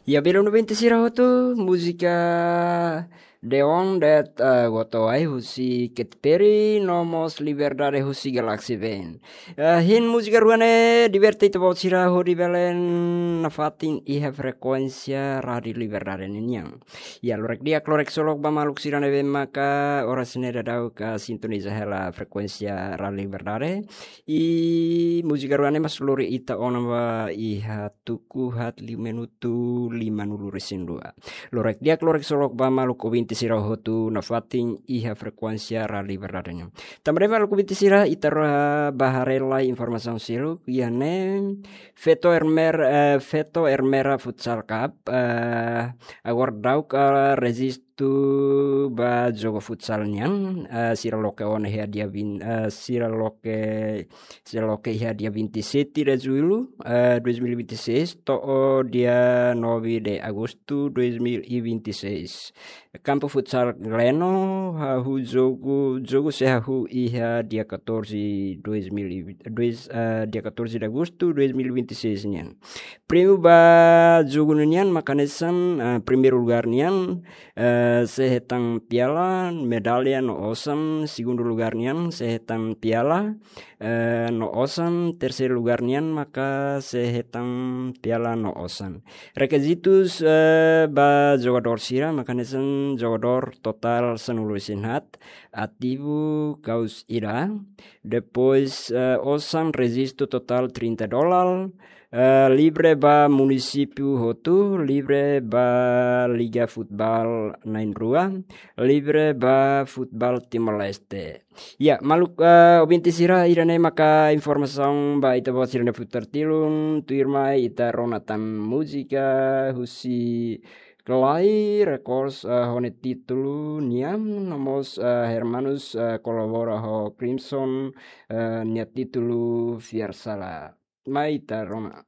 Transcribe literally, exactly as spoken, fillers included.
Ya, belun ouvinte sira hotu, múzika Deon de'it, eh, Goto Ai husi Katy Perry, no mós Liberdade husi Galaxy Band. Eh, hein múzika rua ne'e, diverte ita-boot sira hodi bele nafatin iha frekuénsia Rádiu Liberdade ninian. Ya, lorek di'ak, lorek solok ba maluk sira ne'ebé maka oras ne'e daudaun sintoniza hela frekuénsia Rádiu Liberdade. I múzika rua ne'e mak lori ita ona ba iha tuku haat liu minutu lima-nulu resin dua. Lorek di'ak, lorek solok ba maluk ouvinte sira hotu nafatin iha frekuénsia Rádiu Liberdade nian. Tanba ne'e maluk ouvinte sira, ita rua bá haree lai informasaun seluk iha ne'e. Feto Ermer-, eh, Feto Ermera Futsal Cup, eh, agora daudaun rejistu ba jogu futsal nian, eh, sira loke ona iha dia vin-, eh, sira loke, sira loke iha dia vinte e sete de julho, eh, dois mil e vinte e seis, to'o dia nove de agosto dois mil e vinte e seis. Kampu futsal Gleno, hahú jogu, jogu sei hahú iha dia catorze, dois mil e vinte, dois, eh, dia catorze de agosto dois mil e vinte e seis nian. Prémiu ba jogu ninian maka hanesan, eh, primeiru lugár nian, eh, sei hetan piala, medalla no osan, segundu lugár nian sei hetan piala, eh, no osan, terseiru lugár nian maka sei hetan piala no osan. Rekizitus, eh, ba jogadór sira maka hanesan jogadór totál sanulu-resin-haat, ativu ka'as ida, depois, eh, osan rejistu totál trinta dólar, eh, livre ba munisípiu hotu, livre ba Liga Futeból na'in-rua, livre ba futeból Timor-Leste. Ya, maluk, eh, ouvinte sira, ida-ne'e maka informasaun ba ita-boot sira-nia futar tilun, tuirmai ita rona tan múzika husi Clay Records, eh, ho nia títulu Niam, no mós, eh, Hermanus, eh, kolabora ho Crimson, eh, nia títulu Fiar Sala. Mai ita rona.